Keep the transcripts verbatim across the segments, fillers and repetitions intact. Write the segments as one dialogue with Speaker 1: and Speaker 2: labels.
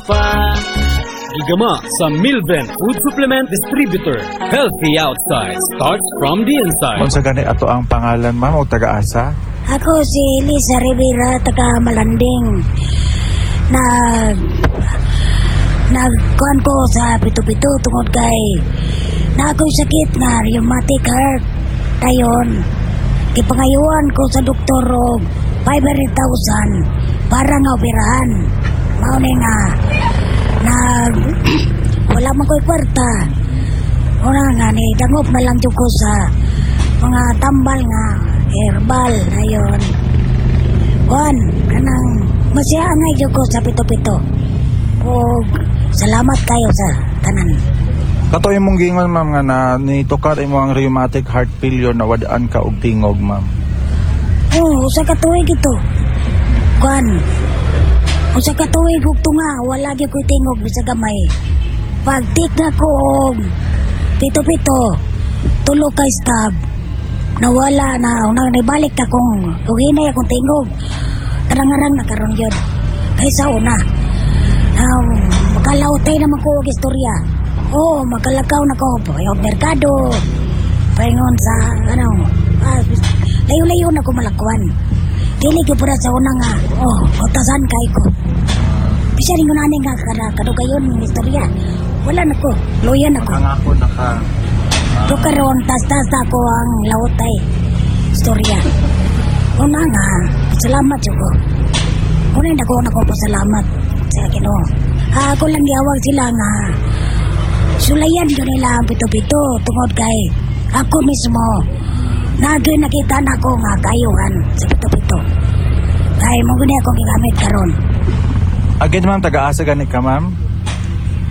Speaker 1: pa.
Speaker 2: Gigama sa Milven Food Supplement Distributor. Healthy outside starts from the inside.
Speaker 3: Unsa gani ato ang pangalan, ma'am, o taga-asa?
Speaker 4: Ako si Lisa Rivera, taga Malanding. Nag nagkuan ko sa pito-pito tungod kay na ako'y sakit nga rheumatic heart. Dayon, gipangayuan ko sa doktor og five hundred thousand para nga operahan. Mao ni nga nag wala man ko'y kwarta. Una nga ni dangop na lang jud ko sa mga tambal nga herbal ayon. Kuan, kanang masaya angay jud ko sa pito-pito. Og salamat kayo sa tanan.
Speaker 3: Kato imong giingon, ma'am, nga na nitukar imo ang rheumatic heart failure na wad-an ka og tingog, ma'am.
Speaker 4: Oh, usa ka tuig ito. Kuan. Usa ka tuig ug tunga, wala gyud ko'y tingog bisag gamay. Pag-take na ko og pito-pito, tulo ka stab, nawala na, una nibalik akong, ug hinay akong tingog. Tarang-arang na karon yun. Kaysa una. Um, makalawtay naman ko og istorya. Oo, makalakaw na ko. Paingon merkado. Paingon sa, ano, ah, layo-layo na ko malakwan. Dili ko para sa una nga, oh, utasan kay ko. Bisan ko na nga kada kadugayon ng istorya. Wala na ko, luya na ko.
Speaker 3: Pangako na ka.
Speaker 4: Do karon tas-tas ako ang lawtay istorya. Una nga, salamat jud ko. Una na ko na ko pasalamat sa Ginoo. Ah, ako lang giawag sila nga sulayan ko nila ang pito-pito tungod kay ako mismo naging nakita na ko nga kayuhan sa pito-pito. Kay mo gani akong gigamit karon.
Speaker 3: Again, ma'am, taga-asa gani ka, ma'am?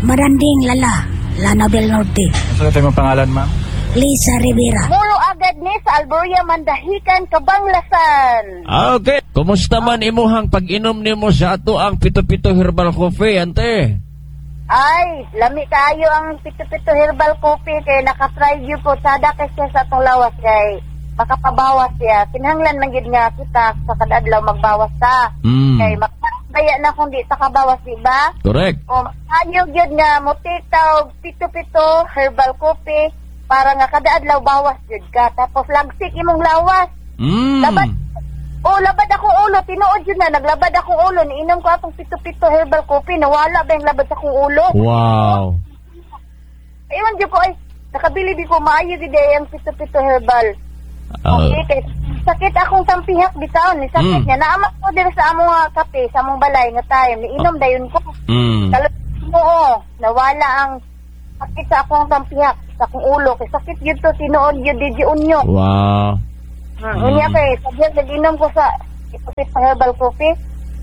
Speaker 4: Maranding Lala, Lanao del Norte.
Speaker 3: Unsa ito imong pangalan, ma'am?
Speaker 4: Lisa Rivera.
Speaker 5: Muro agad ni sa Alboria, Mandahikan, Kabanglasan.
Speaker 6: Ah, okay. Kumusta man imuhang pag-inom nimo sa ato ang pito-pito herbal coffee, ante?
Speaker 5: Ay, lami kaayo ang pito-pito herbal coffee kay nakatry gyud ko sada kay siya sa atong lawas kay makapabawas siya. Kinahanglan man gyud nga kita sa kada adlaw magbawas ta.
Speaker 6: Mm.
Speaker 5: Kay makabaya na kung di ta kabawas, di ba?
Speaker 6: Correct.
Speaker 5: O ayo gyud nga mo-take ta og pito-pito herbal coffee para nga kada adlaw bawas gyud ka. Tapos lagsik imong lawas.
Speaker 6: Mm.
Speaker 5: Labad. Oh, labad akong ulo, tinuod yun na, naglabad akong ulo, niinom ko atong pito-pito herbal coffee, nawala ba yung labad sa akong ulo?
Speaker 6: Wow.
Speaker 5: Ewan jud ko ay, nakabilib ko, maayo gid ay ang pito-pito herbal.
Speaker 6: Ah,
Speaker 5: Okay, kay sakit akong tampihak bitaw ni sakit
Speaker 6: Mm.
Speaker 5: niya. Naamat ko diri sa among nga kape, sa among balay nga time, niinom dayon ko.
Speaker 6: mm.
Speaker 5: Kalo mo oh, nawala ang sakit sa akong tampihak, sa akong ulo kay sakit gyud to tinuod gyud di unyo.
Speaker 6: Wow.
Speaker 5: Mm. Unya kay sadyang nag-inom ko sa pito herbal coffee.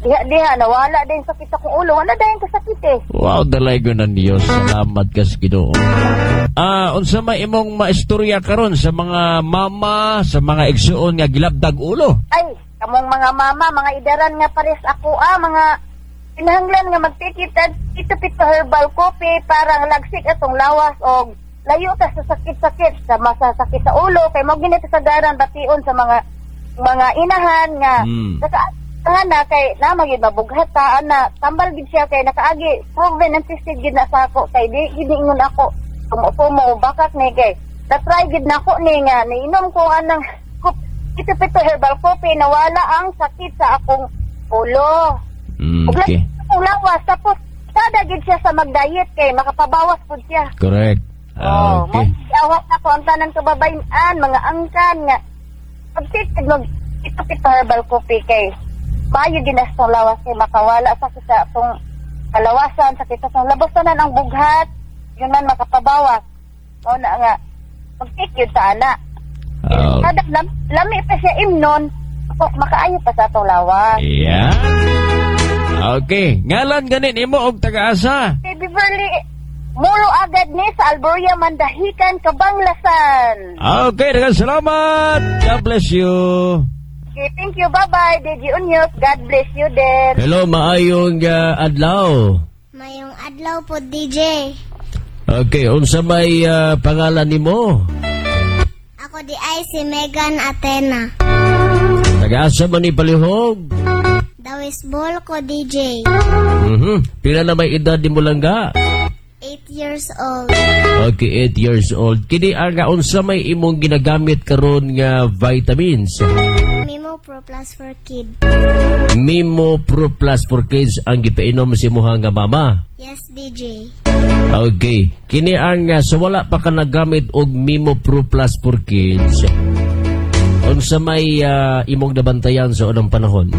Speaker 5: Diha diha nawala din sakit sa akong ulo. Wala dayon ko sakit eh.
Speaker 6: Wow, dalaygon ng Dios. Salamat kas Ginoo. Ah, unsa may imong maistorya karon sa mga mama, sa mga igsuon nga gilabdag ulo?
Speaker 5: Ay, kamong mga mama, mga idaran nga pares ako ah, mga kinahanglan nga magtikit pito pito herbal coffee para lagsik atong lawas og layo ta sa sakit-sakit sa masasakit sa ulo kay mo gini kasagaran bation sa mga mga inahan nga
Speaker 6: Mm.
Speaker 5: naka na kay na magyud mabughat ta ana tambal gid siya kay nakaagi proven and tested gid na sa ako kay di gid ingon ako tumo-tumo bakak ni kay na-try gid nako ni nga niinom ko anang pito pito herbal coffee, nawala ang sakit sa akong ulo.
Speaker 6: Mm,
Speaker 5: Ug
Speaker 6: okay.
Speaker 5: akong lawas tapos sada gid siya sa mag-diet kay makapabawas pud siya.
Speaker 6: Correct.
Speaker 5: Oh,
Speaker 6: Okay.
Speaker 5: mo awat na ko ang tanan kababayan, mga angkan nga pag-take mag pito pito herbal coffee kay maayo gid na sa lawas kay makawala sakit sa atong kalawasan, sakit sa atong labos tanan ang bughat, yun man makapabawas. Mao na nga mag-take yun ta ana.
Speaker 6: Ah,
Speaker 5: Kada lam, lami pa siya imnon, tapos makaayo pa sa atong lawas.
Speaker 6: Yeah. Okay. Ngalan ganin imo og taga-asa?
Speaker 5: Kay Beverly Muro agad ni sa Alboria, Mandahikan, Kabanglasan.
Speaker 6: Okay, daghang salamat. God bless you.
Speaker 5: Okay, thank you. Bye-bye. D J Unyok. God bless you din.
Speaker 6: Hello, maayong uh, adlaw.
Speaker 7: Mayong adlaw po, D J.
Speaker 6: Okay, unsa may uh, pangalan nimo?
Speaker 7: Ako di ay si Megan Athena.
Speaker 6: Taga-asa man ni palihog?
Speaker 7: Dawi West Bohol ko, D J.
Speaker 6: Mhm. Pila na may edad nimo, langga?
Speaker 7: eight years old.
Speaker 6: Okay, eight years old. Kini ang unsa may imong ginagamit karon nga vitamins?
Speaker 7: Mimo Pro Plus for Kid.
Speaker 6: Mimo Pro Plus for Kids ang gipainom sa imuha nga mama.
Speaker 7: Yes, D J.
Speaker 6: Okay. Kini ang uh, sa wala pa ka nagamit og Mimo Pro Plus for Kids, unsa may uh, imong nabantayan sa unang panahon?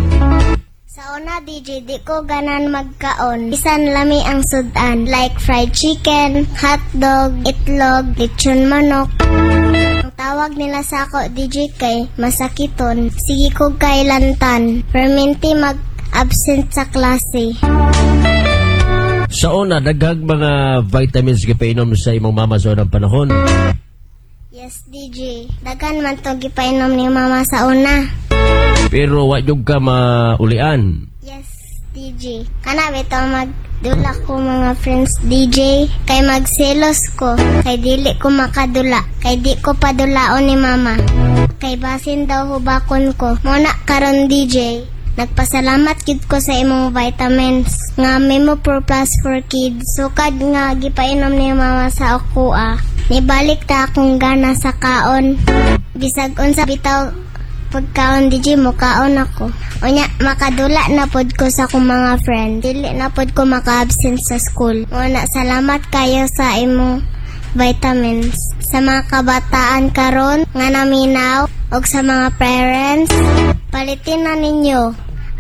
Speaker 7: Sa una, D J, di ko ganan magkaon. Bisan lami ang sudan. Like fried chicken, hotdog, itlog, lechon manok. Ang tawag nila sa ako, D J, kay masakiton. Sige ko kay lantan. Perminti mag-absent sa klase.
Speaker 6: Sa una, daghang mga vitamins gipainom sa imong mama sa unang panahon?
Speaker 7: Yes, D J. Daghan man to gipainom ni mama sa una.
Speaker 6: Pero wa jud ka maulian.
Speaker 7: Yes, D J. Kana bitaw magdula ko mga friends, D J. Kay magselos ko. Kay dili ko makadula. Kay di ko padulaon ni mama. Kay basin daw hubakon ko. Muna karon, D J. Nagpasalamat gid ko sa imong vitamins nga Memo Pro Plus for Kids. Sukad nga gipainom ni mama sa ako ah. Nibalik ta akong gana sa kaon. Bisag unsa bitaw pagkaon, D J, mo kaon ako. Unya makadula na pod ko sa akong mga friend. Dili na pod ko maka-absent sa school. Muna salamat kayo sa imong vitamins. Sa mga kabataan karon nga naminaw og sa mga parents, palitin na ninyo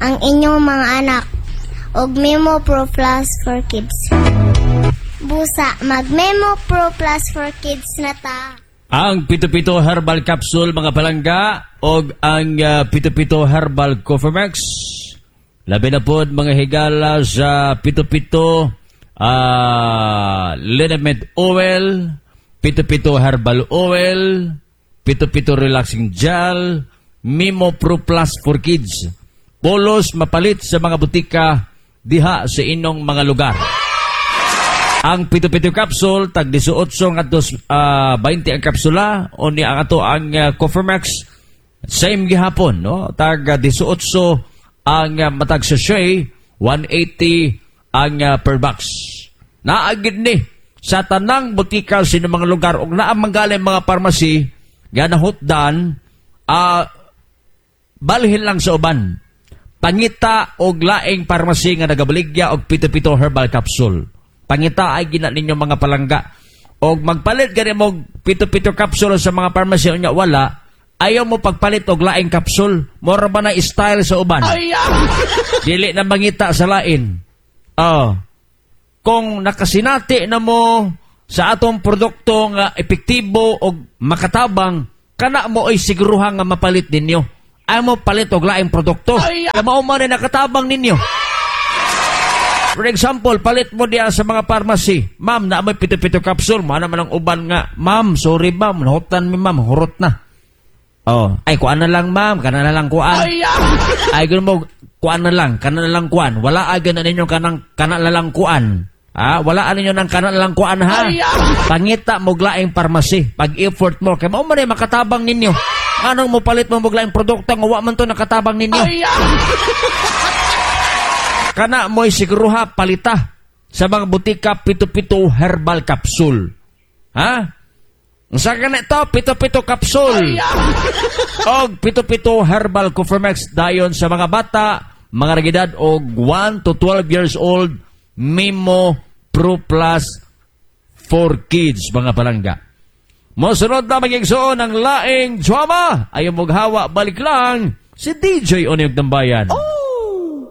Speaker 7: ang inyong mga anak og Memo Pro Plus for Kids. Busa, mag Memo Pro Plus for Kids na ta.
Speaker 6: Ang Pito-Pito Herbal Capsule, mga palangga, og ang uh, Pito-Pito Herbal Coffee Max. Labi na pod, mga higala, sa Pito-Pito uh, Liniment Oil, Pito-Pito Herbal Oil, Pito-Pito Relaxing Gel, Mimo Pro Plus for Kids. Polos mapalit sa mga butika diha sa inyong mga lugar. Ang Pito-Pito capsule, tag eighteen ngadto uh, twenty ang kapsula, o ni ang ato ang uh, Coffee Max, same gihapon, no? Tag uh, eighteen ang uh, matag sachet, one eighty ang uh, per box. Naagid ni sa tanang butika sa inyong mga lugar ug naa manggaling mga pharmacy nga nahutdan, uh, balhin lang sa uban. Pangita og laing pharmacy nga nagabaligya og Pito-Pito Herbal Capsule. Pangita ay gina ninyo, mga palangga. Og magpalit gani mo Pito-Pito capsule sa mga pharmacy unya wala, ayaw mo pagpalit og laing capsule. Mora ba na style sa uban? Dili na mangita sa lain. Oh. Kung nakasinati na mo sa atong produkto nga epektibo og makatabang, kana mo ay siguruhan nga mapalit ninyo. Ayaw mo palit og laing produkto. Ay, mao man ay nakatabang ninyo. For example, palit mo diya sa mga pharmacy. "Ma'am, na may Pito-Pito capsule." Mana man ang uban nga, "Ma'am, sorry ma'am, nahutan mi ma'am, hurot na." Oh, "Ay kuan na lang ma'am, kana na lang kuan." Ay gano'n mo, "Kuan na lang, kana na lang kuan." Wala agad na ninyo kanang kana na lang kuan. Ah, wala ninyo ng kana na lang kuan ha. Pangita mo laing pharmacy. Pag-effort mo kay mao man ay makatabang ninyo. Anong mo palit mo og laing produkto nga wa man to nakatabang ninyo? Kana mo'y siguruha palita sa mga butika Pito-Pito Herbal Capsule. Ha? Unsa ka na ito? Pito-Pito Capsule. Og Pito-Pito Herbal Coffee dayon sa mga bata, mga nagedad og one to twelve years old, Mimo Pro Plus for Kids, mga palangga. Mosunod na magigsuon ang laing drama. Ayaw moghawa, balik lang si D J Onyok ng Bayan. Oh!